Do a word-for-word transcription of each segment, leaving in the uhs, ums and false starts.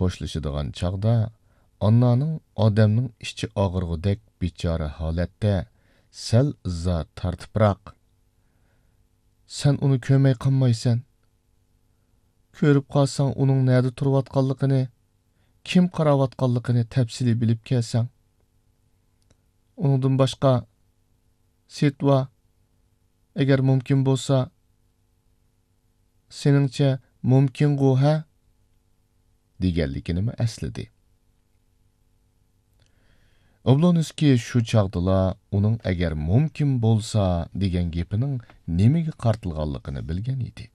خوشلىشىدىغان چاغدا ئاننانىڭ ئادەمنىڭ ئىچى ئاغرىغۇدەك بىچارە ھالەتتە سەل ئىززا تارتىپراق، سەن ئۇنى كۆرمەي قالمايسەن. كۆرۈپ قالساڭ ئۇنىڭ نەدە تۇرۇۋاتقانلىقىنى، كىم قاراۋاتقانلىقىنى تەپسىلىي بىلىپ كەلسەڭ. ئۇنىڭدىن باشقا، سېتۋا، ئەگەر مۇمكىن بولسا، سېنىڭچە مۇمكىنغۇ، ھە؟ دېگەنلىكىنىمۇ ئەسلىدى. ئوبلونسكىي شۇ چاغدىلا ئۇنىڭ ئەگەر مۇمكىن بولسا دېگەن گېپىنىڭ نېمىگە قارىتىلغانلىقىنى بىلگەن ئىدى.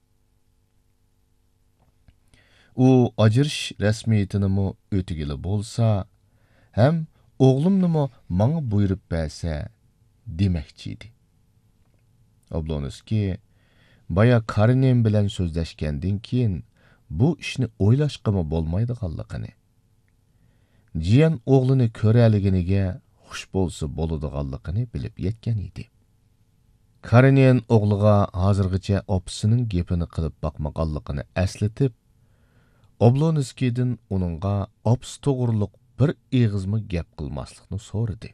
ئۇ ئاجرىشىش رەسمىيىتىنىمۇ ئۆتىگىلى بولسا، ھەم ئوغلۇمنىمۇ ماڭا بۇيرۇپ بەرسە دېمەكچى ئىدى. ئوبلونسكىي بايا كارېنىن بىلەن سۆزلەشكەندىن كېيىن بۇ ئىشنى ئويلاشقىمۇ بولمايدىغانلىقىنى، جىيەن ئوغلىنى كۆرەلىگىنىگە خۇش بولسا بولىدىغانلىقىنى بىلىپ يەتكەن ئىدى. كارېنىن ئوغلىغا ھازىرغىچە ئاپىسىنىڭ گېپىنى قىلىپ باقمىغانلىقىنى ئەسلىتىپ، ئوبلونسكىيدىن ئۇنىڭغا ئاپىسى توغرۇلۇق بىر ئېغىزمۇ گەپ قىلماسلىقنى سورىدى.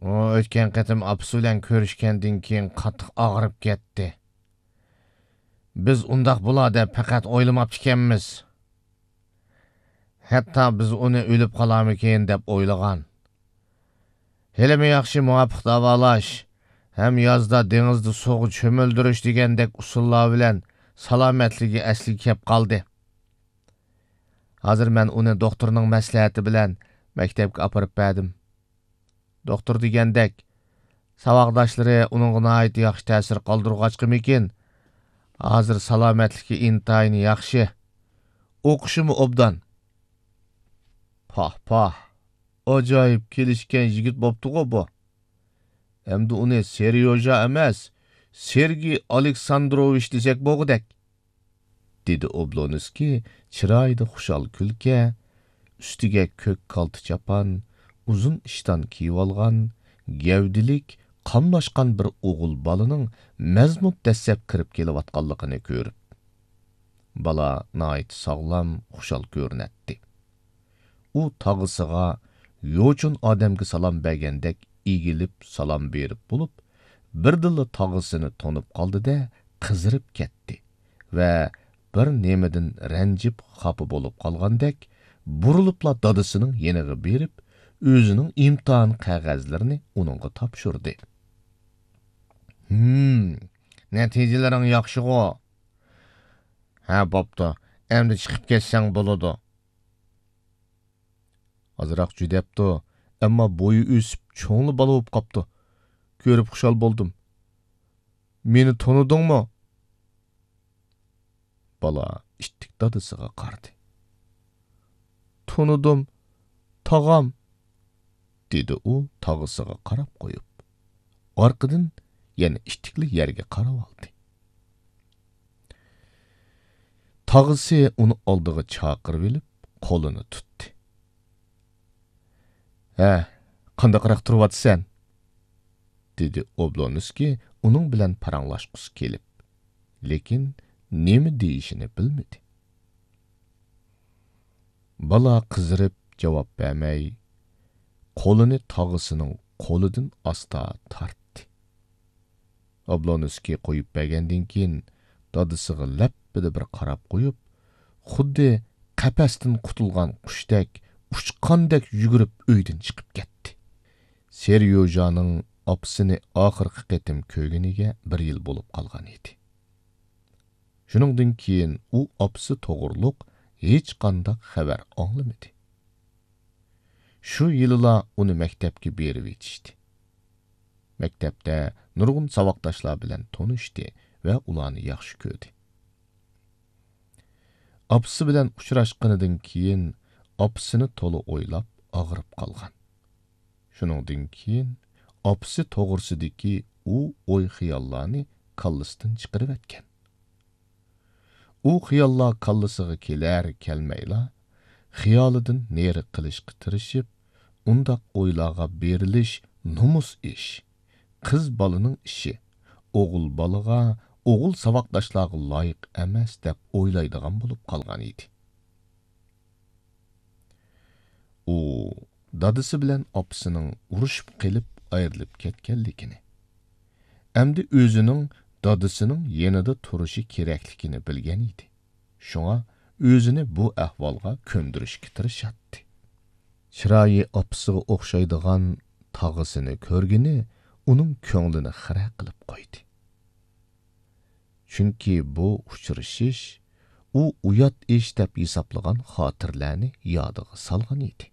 ئۇ ئۆتكەن قېتىم ئاپىسى بىلەن كۆرۈشكەندىن كېيىن قاتتىق ئاغرىپ كەتتى. بىز ئۇنداق بولار دەپ پەقەت ئويلىماپتىكەنمىز. ھەتتا بىز ئۇنى ئۆلۈپ قالارمىكىن دەپ ئويلىغان. ھېلىمۇ ياخشى مۇۋاپىق داۋالاش ھەم يازدا دېڭىزدا سۇغا چۆمۈلدۈرۈش دېگەندەك ئۇسۇللار بىلەن سالامەتلىكى ئەسلىگە كەپ قالدى. ھازىر مەن ئۇنى دوختۇرنىڭ مەسلىھەتى بىلەن مەكتەپكە ئاپىرىپ بەردىم. دوختۇر دېگەندەك، ساۋاقداشلىرى ئۇنىڭغا ناھايىتى ياخشى تەسىر قالدۇرغاچقىمىكىن، ھازىر سالامەتلىكى ئىنتايىن ياخشى. ئوقۇشىمۇ ئوبدان. پاھ، پاھ، ئاجايىپ كېلىشكەن يىگىت بوپتىغۇ بۇ. ئەمدى ئۇنى سېريوژا ئەمەس، سېرگېي ئالېكساندروۋىچ دېسەك بولغۇدەك. دېدى ئوبلونسكىي چىرايىدا خۇشال كۈلكە، ئۈستىگە كۆك كالتە چاپان، ئۇزۇن ئىشتان كىيىۋالغان، گەۋدىلىك، قاملاشقان بىر ئوغۇل بالىنىڭ مەزمۇت دەسسەپ كىرىپ كېلىۋاتقانلىقىنى كۆرۈپ. بالا ناھايىتى ساغلام، خۇشال كۆرۈنەتتى. ئۇ تاغىسىغا يوچۇن ئادەمگە سالام بەرگەندەك ئېگىلىپ سالام بېرىپ بولۇپ، بىردىنلا تاغىسىنى تونۇپ قالدى-دە، قىزىرىپ كەتتى ۋە بىر نېمىدىن رەنجىپ خاپا بولۇپ قالغاندەك، بۇرۇلۇپلا دادىسىنىڭ يېنىغا بېرىپ، ئۆزىنىڭ ئىمتىھان قەغەزلىرىنى ئۇنىڭغا تاپشۇردى. ھىم، نەتىجىلىرىڭ ياخشىغۇ؟ ھە، بوپتۇ. ئەمدى چىقىپ كەتسەڭ بولىدۇ. ئازراق جۈدەپتۇ، ئەمما بويى ئۆسۈپ، چوڭلا بالا بولۇپ قاپتۇ. كۆرۈپ خۇشال بولدۇم. مېنى تونۇدۇڭمۇ؟ بالا ئىتتىك دادىسىغا قارىدى. تونۇدۇم، تاغام، دېدى ئۇ تاغىسىغا قاراپ قويۇپ. ئارقىدىن يەنە ئىتتىكلا يەرگە قاراۋالدى. تاغىسى ئۇنى ئالدىغا چاقىرىۋېلىپ، قولىنى تۇتتى. ھە، قانداقراق تۇرۇۋاتىسەن؟ دېدى ئوبلونسكىي ئۇنىڭ بىلەن پاراڭلاشقۇسى كېلىپ، لېكىن نېمە دېيىشىنى بىلمىدى. بالا قىزىرىپ جاۋاب بەرمەي، قولىنى تاغىسىنىڭ قولىدىن ئاستا تارتتى. ئوبلونسكىي قويۇپ بەرگەندىن كېيىن، دادىسىغا لەپپىدە بىر قاراپ قويۇپ، خۇددى قەپەستىن قۇتۇلغان قۇشتەك، ئۇچقاندەك يۈگۈرۈپ ئۆيدىن چىقىپ كەتتى. سېريوژانىڭ ئاپىسىنى ئاخىرقى قېتىم كۆرگىنىگە بىر يىل بولۇپ قالغان ئىدى. شۇنىڭدىن كېيىن ئۇ ئاپىسى توغرۇلۇق ھېچقانداق خەۋەر ئاڭلىمىدى. شۇ يىلىلا ئۇنى مەكتەپكە بېرىۋېتىشتى. مەكتەپتە نۇرغۇن ساۋاقداشلار بىلەن تونۇشتى ۋە ئۇلارنى ياخشى كۆردى. ئاپىسى بىلەن ئۇچراشقىنىدىن كېيىن، ئاپىسىنى تولا ئويلاپ ئاغرىپ قالغان. شۇنىڭدىن كېيىن ئاپىسى توغرىسىدىكى ئۇ ئوي-خىياللارنى كاللىسىدىن چىقىرىۋەتكەن. ئۇ خىياللار كاللىسىغا كېلەر-كەلمەيلا، خىيالىدىن نېرى قىلىشقا تىرىشىپ، ئۇنداق ئويلارغا بېرىلىش نومۇس ئىش، قىز بالىنىڭ ئىشى، ئوغۇل بالىغا ئوغۇل ساۋاقداشلارغا لايىق ئەمەس دەپ ئويلايدىغان بولۇپ قالغان ئىدى. ئۇ دادىسى بىلەن ئاپىسىنىڭ ئۇرۇشۇپ قېلىپ ئايرىلىپ كەتكەنلىكىنى، ئەمدى ئۆزىنىڭ دادىسىنىڭ يېنىدا تۇرۇشى كېرەكلىكىنى بىلگەن ئىدى. شۇڭا ئۆزىنى بۇ ئەھۋالغا كۆندۈرۈشكە تىرىشاتتى. چىرايى ئاپىسىغا ئوخشايدىغان تاغىسىنى كۆرگىنى ئۇنىڭ كۆڭلىنى خىرە قىلىپ قويدى. چۈنكى بۇ ئۇچرىشىش ئۇ ئۇيات ئىش دەپ ھېسابلىغان خاتىرىلەرنى يادىغا سالغان ئىدى.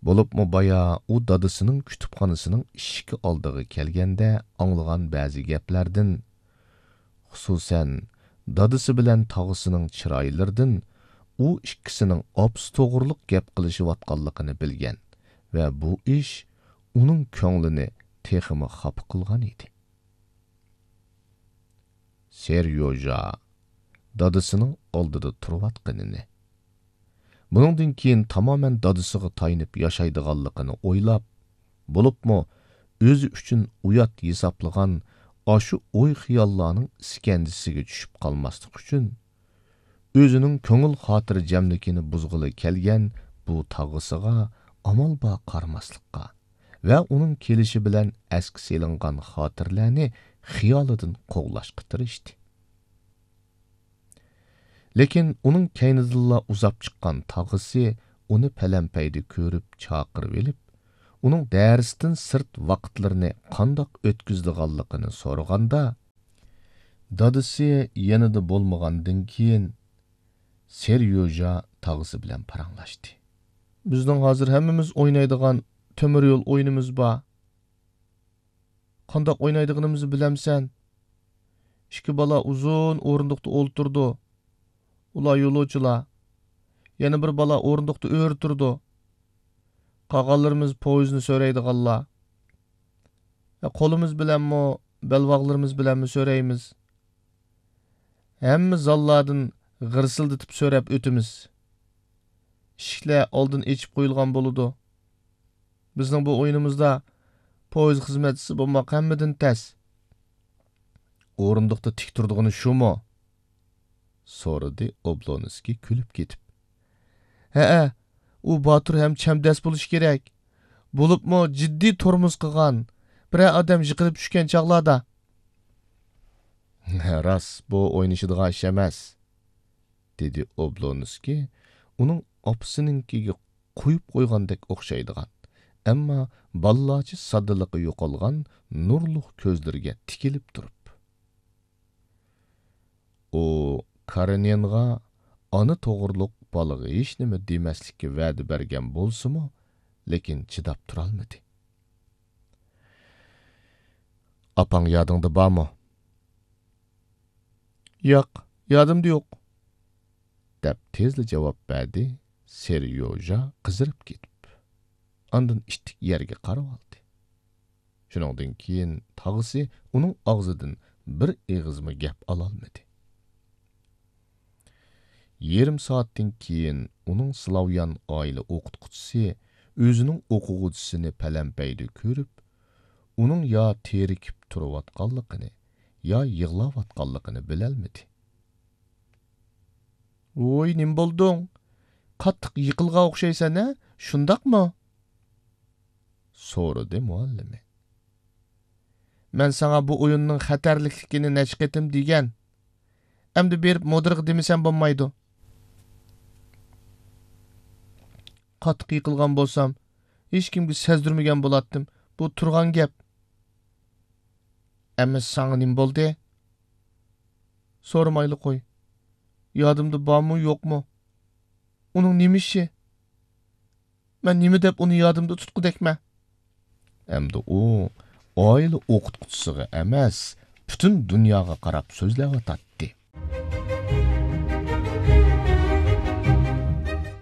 بولۇپمۇ بايا ئۇ دادىسىنىڭ كۇتۇپخانىسىنىڭ ئىشىكى ئالدىغا كەلگەندە ئاڭلىغان بەزى گەپلەردىن، خۇسۇسەن، دادىسى بىلەن تاغىسىنىڭ چىرايلىرىدىن ئۇ ئىككىسىنىڭ ئاپىسى توغرۇلۇق گەپ قىلىشىۋاتقانلىقىنى بىلگەن ۋە بۇ ئىش ئۇنىڭ كۆڭلىنى تېخىمۇ خاپا قىلغان ئىدى. سېريوژا دادىسىنىڭ ئالدىدا تۇرۇۋاتقىنىنى، بۇنىڭدىن كېيىن تامامەن دادىسىغا تايىنىپ ياشايدىغانلىقىنى ئويلاپ، بولۇپمۇ ئۆزى ئۈچۈن ئۇيات ھېسابلىغان ئاشۇ ئوي-خىياللارنىڭ ئىسكەنجىسىگە چۈشۈپ قالماسلىق ئۈچۈن، ئۆزىنىڭ كۆڭۈل خاتىرجەملىكىنى بۇزغىلى كەلگەن بۇ تاغىسىغا ئامال بار قارىماسلىققا ۋە ئۇنىڭ كېلىشى بىلەن ئەسكە سېلىنغان خاتىرىلەرنى خىيالىدىن قوغلاشقا تىرىشتى. لېكىن ئۇنىڭ كەينىدىنلا ئۇزاپ چىققان تاغىسى ئۇنى پەلەمپەيدە كۆرۈپ چاقىرىۋېلىپ، ئۇنىڭ دەرستىن سىرت ۋاقىتلىرىنى قانداق ئۆتكۈزىدىغانلىقىنى سورىغاندا، دادىسى يېنىدا بولمىغاندىن كېيىن، سېريوژا تاغىسى بىلەن پاراڭلاشتى. بىزنىڭ ھازىر ھەممىمىز ئوينايدىغان تۆمۈر يول ئويۇنىمىز بار. قانداق ئوينايدىغىنىمىزنى بىلەمسەن؟ ئىككى بالا ئۇزۇن ئورۇندۇقتا ئولتۇرىدۇ. ئۇلار يولۇچىلار. يەنە بىر بالا ئورۇندۇقتا ئۆرە تۇرىدۇ. قالغانلىرىمىز پويىزنى سۆرەيدىغانلار. ھە، قولىمىز بىلەنمۇ، بەلباغلىرىمىز بىلەنمۇ سۆرەيمىز. ھەممە زاللاردىن غىرسىلدىتىپ سۆرەپ ئۆتىمىز. ئىشىكلەر ئالدىن ئېچىپ قويۇلغان بولىدۇ. بىزنىڭ بۇ ئويۇنىمىزدا پويىز خىزمەتچىسى بولماق ھەممىدىن تەس. ئورۇندۇقتا تىك تۇرىدىغىنى شۇمۇ؟ سورىدى ئوبلونسكىي كۈلۈپ كېتىپ. ھەئە، ئۇ باتۇر ھەم چەمدەس بولۇشى كېرەك. بولۇپمۇ جىددىي تورمۇز قىلغان، بىرەر ئادەم يىقىلىپ چۈشكەن چاغلاردا. راست، بۇ ئوينىشىدىغان ئىش ئەمەس، دېدى ئوبلونسكىي ئۇنىڭ ئاپىسىنىڭكىگە قويۇپ قويغاندەك ئوخشايدىغان، ئەمما بالىلارچە ساددىلىقى يوقالغان نۇرلۇق كۆزلىرىگە تىكىلىپ تۇرۇپ. ئۇ كارېنىنغا ئانا توغرۇلۇق بالىغا ھېچنېمە دېمەسلىككە ۋەدە بەرگەن بولسىمۇ، لېكىن چىداپ تۇرالمىدى. ئاپاڭ يادىڭدا بارمۇ؟ ياق، يادىمدا يوق، دەپ تېزلا جاۋاب بەردى سېريوژا قىزىرىپ كېتىپ. ئاندىن ئىتتىك يەرگە قارىۋالدى. شۇنىڭدىن كېيىن تاغىسى ئۇنىڭ ئاغزىدىن بىر ئېغىزمۇ گەپ ئالالمىدى. يېرىم سائەتتىن كېيىن ئۇنىڭ سلاۋيان ئائىلە ئوقۇتقۇچىسى ئۆزىنىڭ ئوقۇغۇچىسىنى پەلەمپەيدە كۆرۈپ، ئۇنىڭ يا تېرىكىپ تۇرۇۋاتقانلىقىنى، يا يىغلاۋاتقانلىقىنى بىلەلمىدى. ۋوي، نېمە بولدۇڭ؟ قاتتىق يىقىلغان ئوخشايسەن ھە، شۇنداقمۇ؟ سورىدى مۇئەللىمى. مەن ساڭا بۇ ئويۇننىڭ خەتەرلىكلىكىنى نەچچە قېتىم دېگەن. ئەمدى بېرىپ مۇدىرغا دېمىسەم بولمايدۇ. قاتتىق يىقىلغان بولسام، ھېچكىمگە سەزدۈرمىگەن بولاتتىم. بۇ تۇرغان گەپ. ئەمما ساڭا نېمە بولدى؟ سورىمايلا قوي. يادىمدا بارمۇ، يوقمۇ؟ ئۇنىڭ نېمە ئىشى؟ مەن نېمە دەپ ئۇنى يادىمدا تۇتقۇدەكمەن؟ ئەمدى ئۇ ئائىلە ئوقۇتقۇچىسىغا ئەمەس، پۈتۈن دۇنياغا قاراپ سۆزلەۋاتاتتى.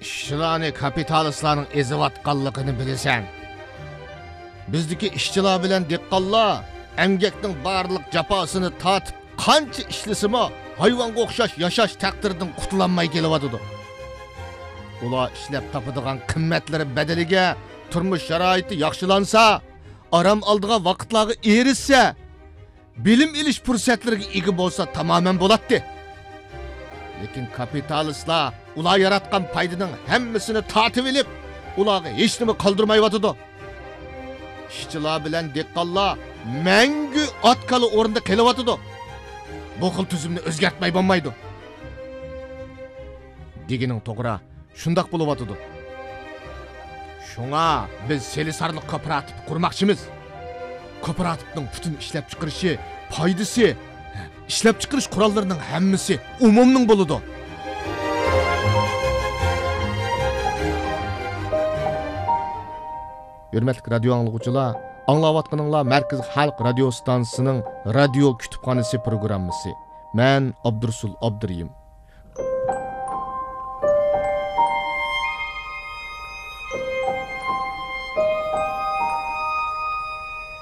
ئىشچىلارنى كاپىتالىستلارنىڭ ئېزىۋاتقانلىقىنى بىلىسەن. بىزدىكى ئىشچىلار بىلەن دېھقانلار ئەمگەكنىڭ بارلىق جاپاسىنى تارتىپ، قانچە ئىشلىسىمۇ، ھايۋانغا ئوخشاش ياشاش تەقدىرىدىن قۇتۇلالماي كېلىۋاتىدۇ. ئۇلار ئىشلەپ تاپىدىغان قىممەتلىرى بەدىلىگە تۇرمۇش شارائىتى ياخشىلانسا، ئارام ئالىدىغان ۋاقىتلارغا ئېرىشسە، بىلىم ئېلىش پۇرسەتلىرىگە ئىگە بولسا تامامەن بولاتتى. لېكىن كاپىتالىستلار ئۇلار ياراتقان پايدىنىڭ ھەممىسىنى تارتىۋېلىپ، ئۇلارغا ھېچنېمە قالدۇرمايۋاتىدۇ. ئىشچىلار بىلەن دېھقانلار مەڭگۈ ئات-كالا ئورنىدا قېلىۋاتىدۇ. بۇ خىل تۈزۈمنى ئۆزگەرتمەي بولمايدۇ. دېگىنىڭ توغرا، شۇنداق بولۇۋاتىدۇ. شۇڭا بىز سېلىسارلىق كوپىراتىپ قۇرماقچىمىز. كوپىراتىپنىڭ پۈتۈن ئىشلەپچىقىرىشى، پايدىسى، ئىشلەپچىقىرىش قوراللىرىنىڭ ھەممىسى ئومۇمنىڭ بولىدۇ. ھۆرمەتلىك رادىيو ئاڭلىغۇچىلار، ئاڭلاۋاتقىنىڭلار مەركىزىي خەلق رادىيو ستانسىسىنىڭ رادىيو كۇتۇپخانىسى پروگراممىسى. مەن ئابدۇرۇسۇل ئابدۇرېھىم.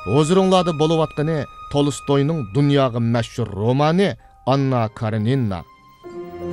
ھۇزۇرۇڭلاردا بولۇۋاتقىنى تولستوينىڭ دۇنياغا مەشھۇر رومانى ئاننا كارېنىنا.